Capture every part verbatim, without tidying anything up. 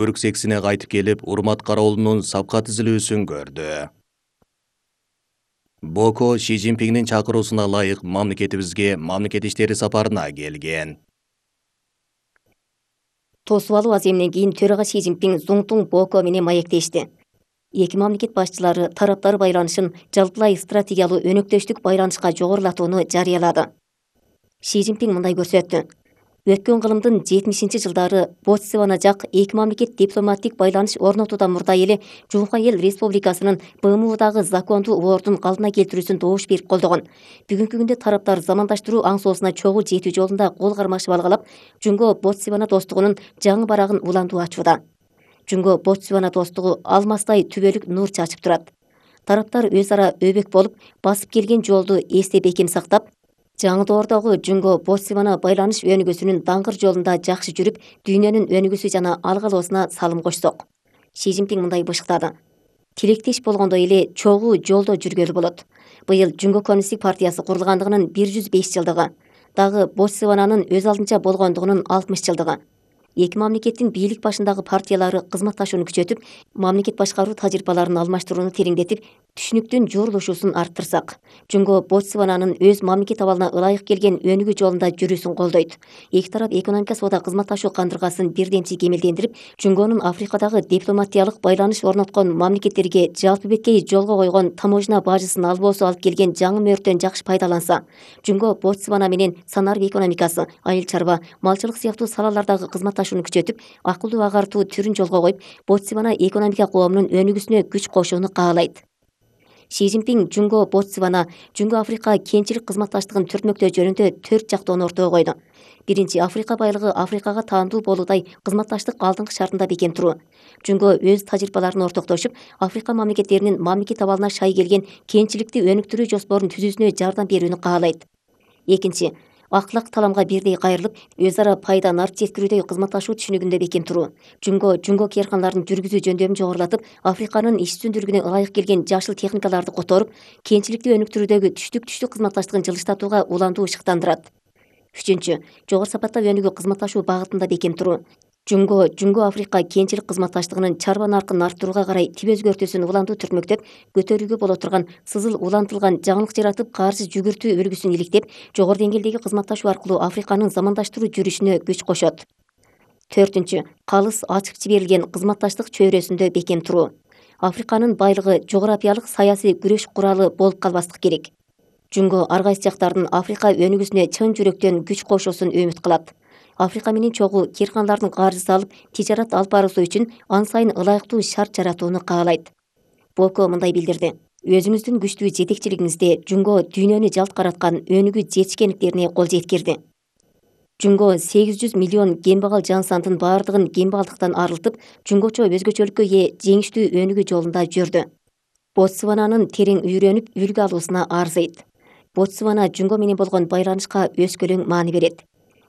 Өрксексине кайтып келип, урмат кароолунун сапка тизилүүсүн көрдү. Боко Ши Цзиньпиңдин чакыруусуна ылайык мамлекетибизге мамлекет иштери сапарына келген. Тосуп алуу аземинен кийин төрага Ши Цзиньпиң Зуңтуң Боко менен маектешти. Эки мамлекет башчылары тараптар байланышын жалпылай стратегиялуу өнөктөштүк байланышка жогорулатууну жарыялады. Ши Цзиньпиң мындай көрсөттү. Өткөн кылымдын жетимишинчи жылдары Ботсвана жак эки мамлекет дипломаттик байланыш орнотуудан мурда эле Жумка эл Республикасынын Б М Удагы закондуу ордун калдына келтирүүсүн добуш берип колдогон. Бүгүнкү күндө тараптар замандаштыруу аң-соосуна чогуу жетүү жолунда кол кармашып алгалап, Жумго Ботсвана достугунун жаңы барагын улантуу ачууда. Жумго Ботсвана достугу алмастай түбөлүк нур чачып турат. Тараптар өз ара өбөк болуп, басып келген жолду эсте бекем сактап, жаңы доордогу Жумго Ботсвана байланыш өнүгүүсүнүн даңгыр жолунда жакшы жүрүп, дүйнөнүн өнүгүүсү жана алгалоосуна салым кошсок. Ши Цзиньпиң мындай бышыктады. Тилектеш болгондой эле чогуу жолдо жүргөлү болот. Быйыл Жумго Коммунисттик партиясы курулгандыгынын бир жүз беш жылдыгы, дагы Ботсвананын өз алдынча болгондугунун алтымыш жылдыгы. Эки мамлекеттин бийлик башындагы партиялары кызматташууну күчөтүп, мамлекет башкаруу тажрыйбаларын алмаштырууну тереңдетип, түшүнүктүн жуурулушуусун арттырсак, Жумго Ботсвананын өз мамлекет абалына ылайык келген өнүгүү жолунда жүрүүсүн колдойт. Эки тарап экономика соода кызматташуу кандыргасын бирдемчи кемелдендирип, Жумгонун Африкадагы дипломатиялык байланыш орноткон мамлекеттерге жалпы беткей жолго койгон таможня бажысын албоосу алып келген жаңы мөөрдөн жакшы пайдаланса, Жумго Ботсвана менен санарб экономикасы, айыл чарба, малчылык сыяктуу салалардагы кызматташууну күчөтүп, акылдуу агартуу түрүн жолго коюп, Ботсвана экономика коомунун өнүгүүсүнө күч кошууну каалайт. Ши Цзиньпиң Жумго Ботсвана, Жумго Африка кенчилик кызматташтыгын түртмөктөө жөнүндө төрт жактоону ортого койду. Биринчи, Африка байлыгы Африкага таандуу болуудай кызматташтык алдыңкы шартында бекем туруу. Жумго өз тажрыйбаларын ортоктошуп, Африка мамлекеттеринин мамлекет абалына шай келген кенчиликти өнүктүрүү жоспорун түзүүсүнө жардам берүүнү каалайт. Экинчи, аклак таламга бирдей кайрылып, өз ара пайда нарт жеткирүүдөй кызматташуу түшүнүгүндө бекем туруу. Жумго жумго кээрканаларын жүргүзүү жөндөмүн жогорулатып, Африканын иш үстүндүүлүгүнө ылайык келген жашыл техникаларды которуп, кенчиликти өнүктүрүүдөгү түштүк-түштүк кызматташтыгын жылыштатууга улантуу ышыктандырат. Үчүнчү, жогору сапатта өнүгүү кызматташуу багытында бекем туруу. Жумго Жумго Африка кенчилик кызматташтыгынын чарба наркын арттырууга карай тип өзгөртүүсүн улантуу түртмөктөп, көтөрүүгө боло турган сызыл улантылган жаңылык жаратып, каарсыз жүгүртүү үлгүсүн иликтеп, жогору деңгээлдеги кызматташуу аркылуу Африканын замандаштыруу жүрүшүнө күч кошот. Төртүнчү, калыс ачык жиберилген кызматташтык чөйрөсүндө бекем туруу. Африканын байлыгы жогорапиялык саясий күрөш куралы болуп калбастык керек. Жумго ар кайсы жактардын Африка өнүгүүсүнө чын жүрөктөн күч кошуусун үмүт кылат. Африка менен чогуу кээрканалардын каржысы алып, тижарат алып баруусу үчүн ан сайын ылайыктуу шарт жаратууну каалайт. Боко мындай билдирди. Өзүңүздүн күчтүү жетекчилигиңизде Жумго дүйнөнү жалт караткан өнүгүү жетишкендиктерине кол жеткирди. Жумго сегиз жүз миллион кембагал жан сандын баардыгын кембагалдыктан арылтып, жумгочо өзгөчөлүккө ээ жеңиштүү өнүгүү жолунда жүрдү. Ботсвананын терең үйрөнүп, үлгү алуусуна арзыйт. Ботсвана Жумго менен болгон байланышка өскөлөң маани берет.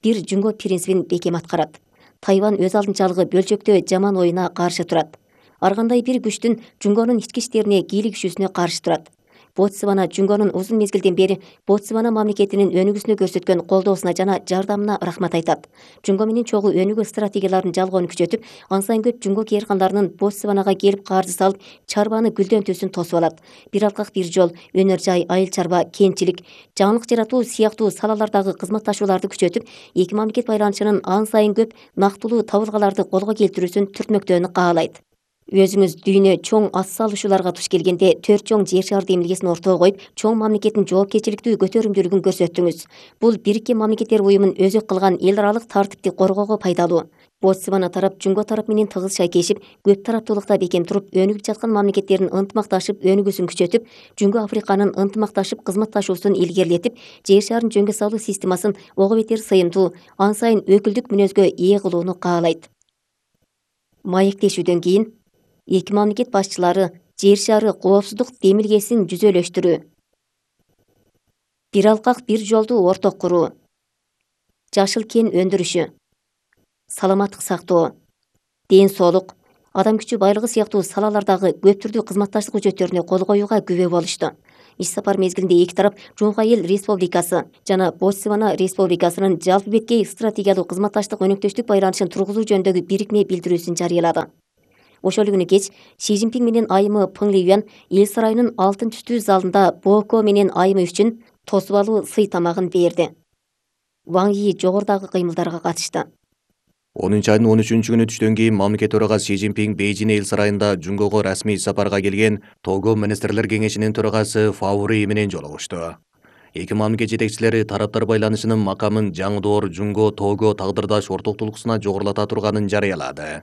Бир Жумго принцибин бекем аткарат. Тайвань өз алдынчалыгы бөлчөктөө жаман оюна каршы турат. Ар кандай бир күчтүн Жумгонун ички иштерине кийлигишүүсүнө каршы турат. Ботсвана Жумгонун узун мезгилден бери Ботсвана мамлекетинин өнүгүүсүнө көрсөткөн колдоосуна жана жардамына рахмат айтат. Жумго менен чогуу өнүгүү стратегияларын жалгоону күчөтүп, ан сайын көп Жумго кээрканаларынын Ботсванага келип каржы салып, чарбаны гүлдөнтүүсүн тосуп алат. Бир алкак бир жол, өнөр жай, айыл чарба, кенчилик, жаңылык жаратуу сыяктуу салалардагы кызматташууларды күчөтүп, эки мамлекет байланышынын ан сайын көп нактылуу табылгаларды колго келтирүүсүн түртмөктөөнү каалайт. Өзүңүз дүйнө чоң ас салышууларга туш келгенде төрт чоң жер шары демилгесин ортого коюп, чоң мамлекеттин жоопкерчиликтүү көтөрүмдүүлүгүн көрсөттүңүз. Бул Бириккен Мамлекеттер уюмун өзөк кылган эл аралык тартипти коргоого пайдалуу. Ботсвана тарап Жумго тарап менен тыгыз шайкешип, көп тараптуулукта бекем туруп, өнүгүп жаткан мамлекеттердин ынтымакташып өнүгүүсүн күчөтүп, Жумго Африканын ынтымакташып кызматташуусун илгерилетип, жер шарын жөнгө салуу системасын ого бетер сыйымдуу, ан сайын өкүлдүк мүнөзгө ээ кылууну каалайт. Маектешүүдөн кийин эки мамлекет башчылары жер шары коопсуздук демилгесин жүзөлөштүрүү. Бир алкак бир жолду орток куруу. Жашыл кен өндүрүшү. Саламаттык сактоо. Ден соолук, адам күчү байлыгы сыяктуу салалардагы көп түрдүү кызматташтык үчөттөрүнө кол коюуга күбө болушту. иш сапар мезгилинде эки тарап Жуңку Эл Республикасы жана Ботсвана Республикасынын жалпы беткей стратегиялык кызматташтык өнөктөштүк байланышын тургузуу жөнүндөгү бирикме билдирүүсүн жарыялады. Ошол күнү кеч Си Цзиньпин менен айымы Пың Лиюан эл сарайынын алтын түстүү залында Боко менен айымы үчүн тосуп алуу сый тамагын берди. Ваң Йи жогорудагы кыймылдарга катышты. онунчу айдын он үчүнчү күнү түштөн кийин мамлекет төрагасы Си Цзиньпин Бейжин эл сарайында Жуңгого расмий сапарга келген Того министрлер кеңешинин төрагасы Фао Рый менен жолугушту. Эки мамлекет жетекчилери тараптар байланышынын макамын жаңдоор Жуңго Того тагдырдаш ортоктулуксуна жогорулата турганын жарыялады.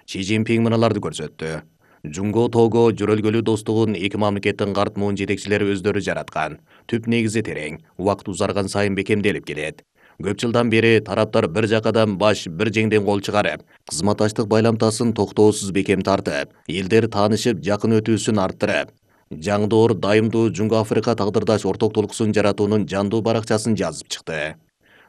Си Цзиньпин мыналарды көрсөттү. Жуңго Того жөрөлгөлүү достугун эки мамлекеттин карт муун жетекчилери өздөрү жараткан. Түп негизи терең, убакыт узарган сайын бекемделип келет. Көп жылдан бери тараптар бир жакадан баш, бир жеңден кол чыгарып, кызматташтык байламтасын токтоосуз бекем тартып, элдер таанышып, жакын өтүүсүн арттырып, жаңдоор дайымдуу Жуңго Африка тагдырдаш ортоктулуксун жаратуунун жандуу баракчасын жазып чыкты.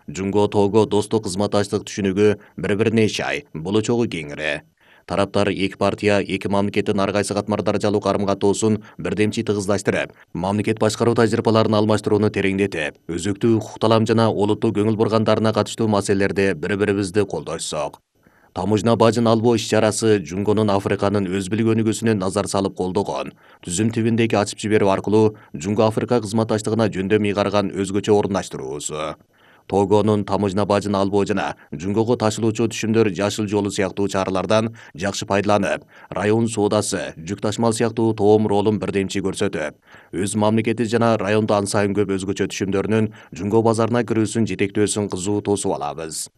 Жуңго Того достук кызматташтык түшүнүгү бири-бирине шай, болочогу кеңири. Тараптар эки партия, эки мамлекеттин ар кайсы катмар даражалуу карым-катоосун бирдемчи тыгыздаштырып, мамлекет башкаруу тажрыйбаларын алмаштырууну тереңдетип, өзөктүү укук талам жана олуттуу көңүл бургандарына катыштуу маселелерде бири-бирибизди колдошсок. Таможня бажын албоо иш-чарасы Жуңгонун Африканын өз билгөнүгүсүнө назар салып колдогон. Түзүм тибиндеги ачып жиберүү аркылуу Жуңго Африка кызматташтыгына жөндөм ыйгарган өзгөчө орундаштыруусу. Тогонун таможня бажын албоо жана Жуңгого ташылуучу түшүмдөр жашыл жолу сыяктуу чаралардан жакшы пайдаланып, район соодасы, жүк ташмал сыяктуу тоом ролун бирдемчи көрсөтүп, өз мамлекети жана райондо ан сайын көп өзгөчө түшүмдөрүнүн Жуңго базарына кирүүсүн жетектөөсүн кызуу тосуп алабыз.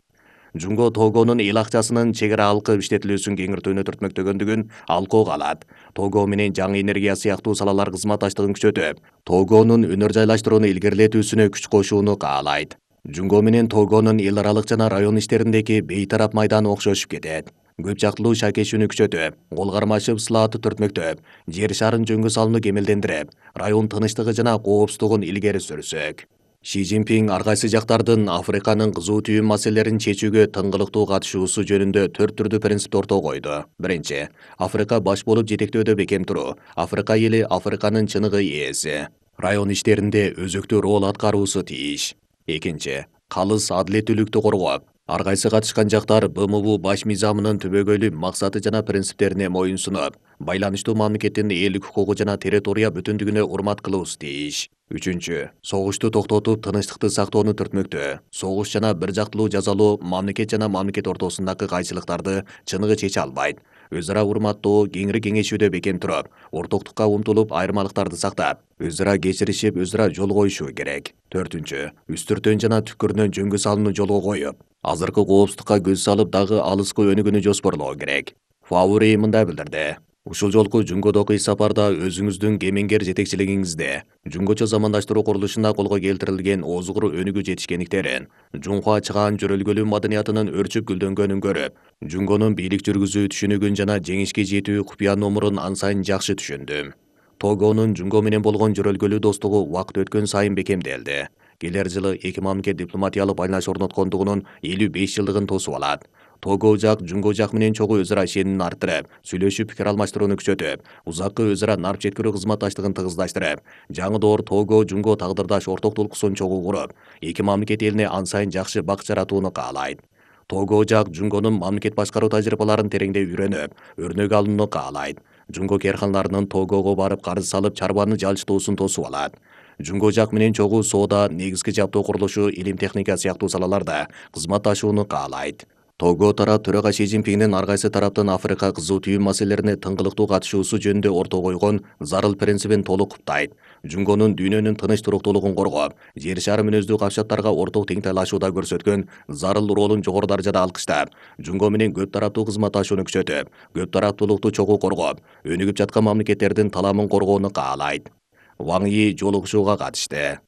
Жуңго Тогонун эл акчасынын чек ара алкып иштетилүүсүн кеңиртүүнү түртмөктөгөндүгүн алкоого алат. Того менен жаңы энергия сыяктуу салалар кызматташтыгын күчөтүп, Тогонун өнөр жайлаштырууну илгерилетүүсүнө күч кошууну каалайт. Жуңго менен Тогонун эл аралык жана район иштериндеги бейтарап майданы окшошуп кетет. Көп жактылуу шакешүүнү күчөтүп, кол кармашып сылааты түртмөктөп, жер шарын жөнгө салууну кемелдендирип, район тынычтыгы жана коопсуздугун илгери сүрсөк. Си Цзиньпин ар кайсы жактардын Африканын кызуу түйүн маселелерин чечүүгө тыңгылыктуу катышуусу жөнүндө төрт түрдүү принципти ортого койду. Биринчи, Африка баш болуп жетектөөдө бекем туруу. Африка эли Африканын чыныгы ээси. Район иштеринде өзөктүү роль аткаруусу тийиш. Экинчи, калыс адилеттүүлүктү коргоп, ар кайсы катышкан жактар Б М В баш мыйзамынын түбөгөйлүү максаты жана принциптерине моюн сунуп, байланыштуу мамлекеттин элдик укугу жана территория бүтүндүгүнө урмат кылуусу тийиш. Үчүнчү, согушту токтотуп, тынычтыкты сактоону түртмөктө. Согуш жана бир жактылуу жазалоо мамлекет жана мамлекет ортосундагы кайчылыктарды чыныгы чече албайт. Өз ара урматтоо, кеңири кеңешүүдө бекем туруп, ортоктукка умтулуп, айырмалыктарды сактап, өз ара кечиришип, өз ара жол коюшу керек. Төртүнчү, үстүртөн жана түкүрүнөн жөнгө салууну жолго коюп, азыркы коопсуздукка көз салып, дагы алыскы өнүгүүнү жоспорлоо керек. Фао Рый мындай билдирди. Ушул жолку Жуңгодогу иш сапарда өзүңүздүн кемеңгер жетекчилигиңизде Жуңгочо замандаштыруу курулушунда колго келтирилген озугур өнүгүү жетишкендиктерин, Жунхуа чыгаан жөрөлгөлүү маданиятынын өрчүп гүлдөнгөнүн көрүп, Жуңгонун бийлик жүргүзүү түшүнүгүн жана жеңишке жетүү купуя номурун ан сайын жакшы түшүндүм. Тогонун Жуңго менен болгон жөрөлгөлүү достугу убакыт өткөн сайын бекемделди. Келер жылы эки мамлекет дипломатиялык байланыш орноткондугунун элүү беш жылдыгын тосуп алат. Того жак Жуңго жак менен чогуу өз ара ишенимин арттырып, сүйлөшүп пикир алмаштырууну күчөтүп, узаккы өз ара нарп жеткирүү кызматташтыгын тыгыздаштырып, жаңы Того Жуңго тагдырдаш ортоктулуксун чогуу куруп, эки мамлекет элине ан сайын жакшы бак жаратууну каалайт. Того жак Жуңгонун мамлекет башкаруу тажрыйбаларын тереңдей үйрөнүп, өрнөк алууну каалайт. Жуңго керкандарынын Тогого барып карыз салып, чарбаны жалчытуусун тосуп алат. Жуңго жак менен чогуу соода, негизги жабдуу курулушу, илим техника сыяктуу салаларда кызматташууну каалайт. Того тарап төрага Си Цзиньпиндин ар кайсы тараптын Африка кызуу түйүн маселелерине тыңгылыктуу катышуусу жөнүндө ортого койгон зарыл принцибин толук куптайт. Жуңгонун дүйнөнүн тыныч туруктуулугун коргоп, жер шары мүнөздүү капчаттарга орток теңтайлашууда көрсөткөн зарыл ролун жогору даражада алкыштап, Жуңго менен көп тараптуу кызматташууну күчөтүп, көп тараптуулукту чогуу коргоп, өнүгүп жаткан мамлекеттердин таламын коргоону каалайт. Ваң Йи жолугушууга катышты.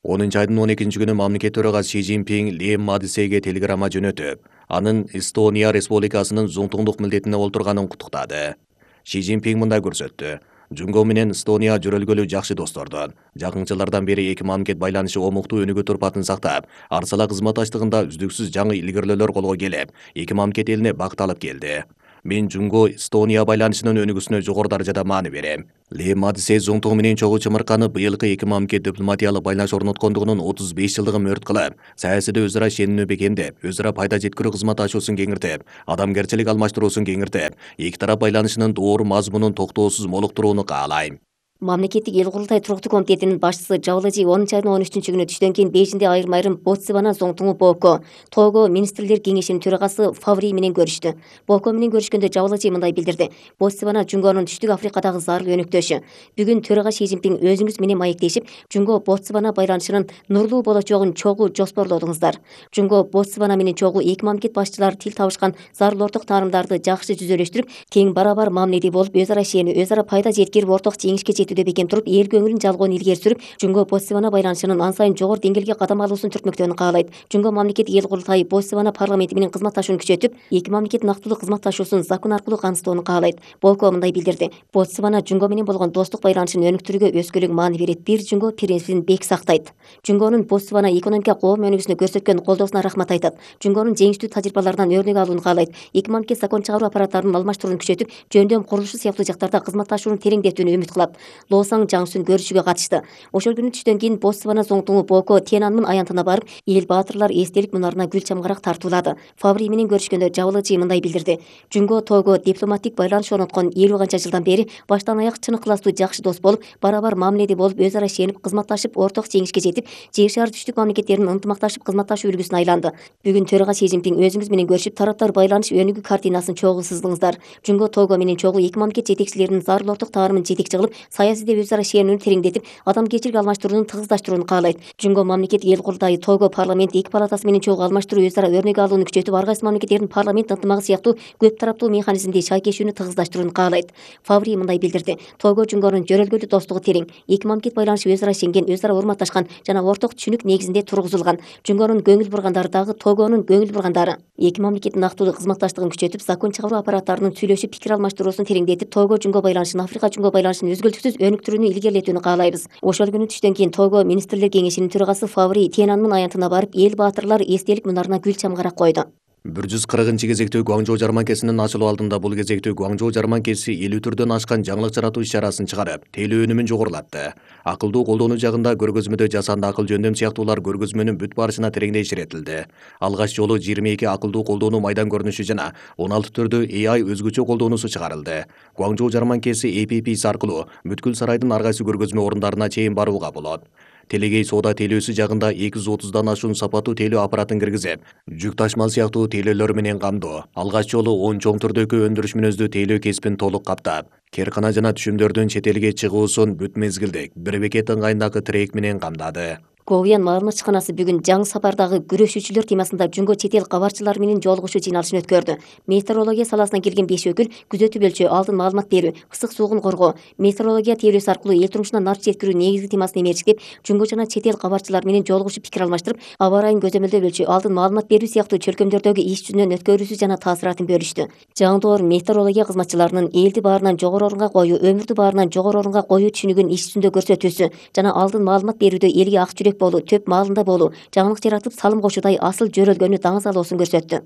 онунчу айдын он экинчи күнү мамлекет төрагасы Си Цзиньпин Лем Мадисеге телеграмма жөнөтүп, анын Эстония Республикасынын зуңтуңдук милдетине олтурганын куттуктады. Си Цзиньпин мындай көрсөттү. Жуңго менен Эстония жөрөлгөлүү жакшы достордун. Жакын жылдардан бери эки мамлекет байланышы омуктуу өнүгүү турпатын сактап, арсала кызматташтыгында үздүксүз жаңы илгерүүлөр колго келип, эки мамлекет элине бакыт алып келди. Мен Жунго Эстония байланышынын өнүгүүсүнө жогору даражада маани берем. Ли Мадисе Зуңтуң менен чогуу чымырканы быйылкы эки мамлекет дипломатиялык байланыш орноткондугунун отуз беш жылдыгын мөрт кылып, саясийде өзара ишенимди бекемдеп, өзара пайда жеткирүү кызматташуусун кеңиртип, адамгерчилик алмаштыруусун кеңиртип, эки тарап байланышынын доор мазмунун токтоосуз молуктурууну каалайм. Мамлекеттик эл курултай туруктуу комитетинин башчысы Жабылыжи онунчу айдын он үчүнчү күнү түштөн кийин Бейжиңде айрым-айрым Ботсвана, Зуңтуңу Боко, Того министрлер кеңешинин төрагасы Фаври менен көрүштү. Боко менен көрүшкөндө Жабылыжи мындай билдирди: Ботсвана Жунгонун Түштүк Африкадагы зарыл өнөктөшү. Бүгүн төрага Си Цзиньпин өзүңүз менен маектешип, Жунго Ботсвана байланышынын нурлуу болочогун чогуу жоспорлодуңуздар. Жунго Ботсвана менен чогуу эки мамлекет башчылары тил табышкан зарыл орток таарымдарды жакшы жүзөлөштүрүп, тең барабар мамиледе болуп, өзара ишенүү, өзара пайда жеткирип, орток жеңишке жетүүдө бекем туруп, эл көңүлүн жалгоону илгери сүрүп, Жунго Ботсвана байланышынын ан сайын жогору деңгээлге кадам алуусун түртмөктөөнү каалайт. Жунго мамлекеттик эл курултайы Ботсвана парламенти менен кызматташууну күчөтүп, эки мамлекет нактылуу кызматташуусун закон аркылуу камсыздоону каалайт. Боко мындай билдирди: Ботсвана Жунго менен болгон достук байланышын өнүктүрүүгө өзгөлүк маани берет, бир Жунго принципин бек сактайт. Жунгонун Ботсвана экономика коом өнүгүүсүнө көрсөткөн колдоосуна рахмат айтат. Жунгонун жеңиштүү тажрыйбаларынан өрнөк алууну каалайт. Эки мамлекет закон чыгаруу аппараттарынын алмаштырууну күчөтүп, жөндөм курулушу сыяктуу жактарда кызматташууну тереңдетүүнү үмүт кылат. Лоосаң Жаңсүн көрүшүүгө катышты. Ошол күнү түштөн кийин Ботсвана Зуңтуңу Боко Тиенанмын аянтына барып, эл баатырлар эстелик мунарына гүл чамгарак тартуулады. Фаври менен көрүшкөндө Жабылыжи мындай билдирди: Жунго Того дипломаттик байланыш орноткон элүү канча жылдан бери баштан аяк чын ыкыластуу жакшы дос болуп, барабар мамиледе болуп, өзара ишенип, кызматташып, орток жеңишке жетип, Жер шаар түштүк мамлекеттеринин ынтымакташып кызматташуу үлгүсүнө айланды. Бүгүн төрага Си Цзиньпин өзүңүз менен көрүшүп, тараптар байланыш өнүгүү картинасын чогуу сыздыңыздар. Жунго Того менен чогуу эки мамлекет жетекчилеринин зарыл орток таарымын жетекчи кылып, саясийде өзара ишенүүнү тереңдетип, адамгерчилик алмаштырууну тыгыздаштырууну каалайт. Жунго мамлекет эл курултайы Того парламент эки палатасы менен чогуу алмаштыруу, өзара өрнөк алууну күчөтүп, ар кайсы мамлекеттердин парламент ынтымагы сыяктуу көп тараптуу механизмди шайкешүүнү тыгыздаштырууну каалайт. Фаври мындай билдирди: Того Жунгонун жөрөлгөлүү достугу терең, эки мамлекет байланышы өзара ишенген, өзара урматташкан жана орток түшүнүк негизинде тургузулган. Жунгонун көңүл бургандары дагы Тогонун көңүл бургандары. Эки мамлекеттин нактылуу кызматташтыгын күчөтүп, закон чыгаруу аппараттарынын сүйлөшүп пикир алмаштыруусун тереңдетип, Того Жунго байланышын, Африка Жунго байланышын өзгөлтүксүз өнүктүрүүнү илгерилетүүнү каалайбыз. Ошол күнү түштөн кийин Того министрлер кеңешинин төрагасы Фаври Тиенанмын аянтына барып, эл баатырлар эстелик мунарына гүл чамгарак койду. бир жүз кыркынчы кезектүү Гуаңжоу жарманкесинин ачылуу алдында бул кезектүү Гуаңжоу жарманкеси элүү түрдөн ашкан жаңылык жаратуу иш-чарасын чыгарып, тейлөө өнүмүн жогорулатты. Акылдуу колдонуу жагында көргөзмөдө жасанды акыл жөндөм сыяктуулар көргөзмөнүн бүт барышына тереңдей иретилди. Алгач жолу жыйырма эки акылдуу колдонуу майдан көрүнүшү жана он алты түрдүү A I өзгөчө колдоонусу чыгарылды. Гуаңжоу жарманкеси A P P аркылуу бүткүл сарайдын ар кайсы көргөзмө орундарына чейин барууга болот. Телегей соода тейлөөсү жагында эки жүз отуздан ашуун сапаттуу тейлөө аппаратын киргизип, жүк ташмал сыяктуу тейлөөлөр менен камдоо. Алгач жолу он чоң түрдөгү өндүрүш мүнөздүү тейлөө кесипин толук каптап, керкана жана түшүмдөрдүн чет элге чыгуусун бүт мезгилдик бир бекет ыңгайындагы трек менен камдады. Ковиян маалымат чыканасы бүгүн жаңы сапардагы күрөшүүчүлөр темасында Жунго чет эл кабарчылары менен жолугушуу жыйналышын өткөрдү. Метеорология саласынан келген беш өкүл күзөтүп өлчөө, алдын маалымат берүү, ысык суугун коргоо, метеорология теориясы аркылуу эл турмушуна нар жеткирүү негизги темасын эмерчиктеп, Жунго жана чет эл кабарчылары менен жолугушуп пикир алмаштырып, аба ырайын көзөмөлдөп өлчөө, алдын маалымат берүү сыяктуу чөлкөмдөрдөгү иш жүзүнөн өткөрүүсү жана таасиратын бөлүштү. Жаңдоор метеорология кызматчыларынын элди баарынан жогору орунга коюу, өмүрдү баарынан жогору орунга коюу түшүнүгүн иш жүзүндө көрсөтүүсү жана алдын маалымат берүүдө элге ак жүрөк болуу, төп маалында болуу, жаңылык жаратып салым кошуудай асыл жөрөлгөнү даңазалоосун көрсөттү.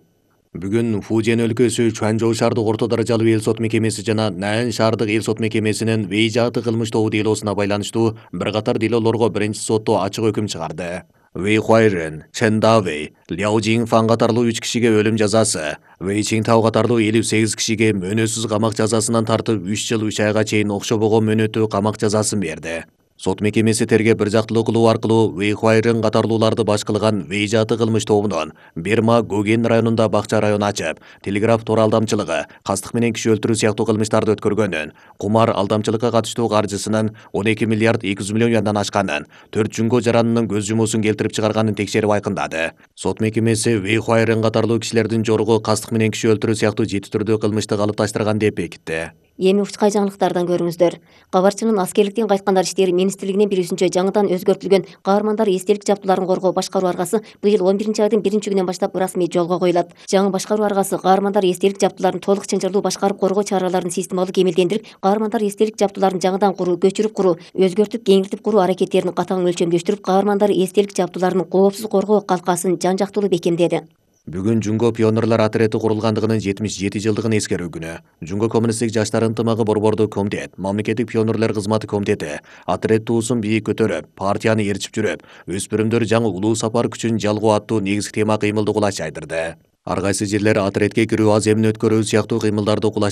Бүгүн Фужиан өлкөсү Чуанчжоу шаардык орто даражалуу эл сот мекемеси жана Нан шаардык эл сот мекемесинин Вэйжаты кылмыш тобу делосуна байланыштуу бир катар делолорго биринчи сотто ачык өкүм чыгарды. Вэй Хуайрен, Чен Давэй, Ляо Жиңфан катарлуу үч кишиге өлүм жазасы, Вэй Чинтау катарлуу элүү сегиз кишиге мөөнөтсүз камак жазасынан тартып үч жыл үч айга чейин окшобогон мөөнөттүү камак жазасын берди. Сот мекемеси терге бир жактылуу кылуу аркылуу Вэй Хуайрен катарлууларды баш кылган Вэйжаты кылмыш тобунун Берма Гоген районунда бакча район ачып, телеграф тор алдамчылыгы, кастык менен киши өлтүрүү сыяктуу кылмыштарды өткөргөнүн, кумар алдамчылыкка катыштуу каржысынын он эки миллиард эки жүз миллион юандан ашканын, төрт Жунго жаранынын көз жумуусун келтирип чыгарганын текшерип айкындады. Сот мекемеси Вэй Хуайрен катарлуу кишилердин жоругу кастык менен киши өлтүрүү сыяктуу жети түрдүү кылмышты калыпташтырган деп бекитти. Эми учкай жаңылыктардан көрүңүздөр. Кабарчынын аскерликтен кайткандар иштери министрлигинин билүүсүнчө жаңыдан өзгөртүлгөн каармандар эстелик жабдууларын коргоо башкаруу аргасы быйыл он биринчи айдын биринчи күнүнөн баштап ырасмий жолго коюлат. Жаңы башкаруу аргасы каармандар эстелик жабдууларын толук чынжырлуу башкарып коргоо чараларын системалуу кемелдендирип, каармандар эстелик жабдууларын жаңыдан куруу, көчүрүп куруу, өзгөртүп, кеңиртип куруу аракеттерин катаң өлчөмдөштүрүп, каармандар эстелик жабдууларынын коопсуз коргоо калкасын жан жактылуу бекемдеди. Бүгүн Жунго пионерлар отрети курулгандыгынын жетимиш жети жылдыгын эскерүү күнү. Жунго коммунисттик жаштар ынтымагы борбордук комитет, мамлекеттик пионерлер кызматы комитети отрет туусун бийик көтөрүп, партияны ээрчип жүрүп, өспүрүмдөр жаңы улуу сапар күчүн жалгоо аттуу негизги тема кыймылды кулач жайдырды. Ар кайсы жерлер отретке кирүү, аземин өткөрүү сыяктуу кыймылдарды кулач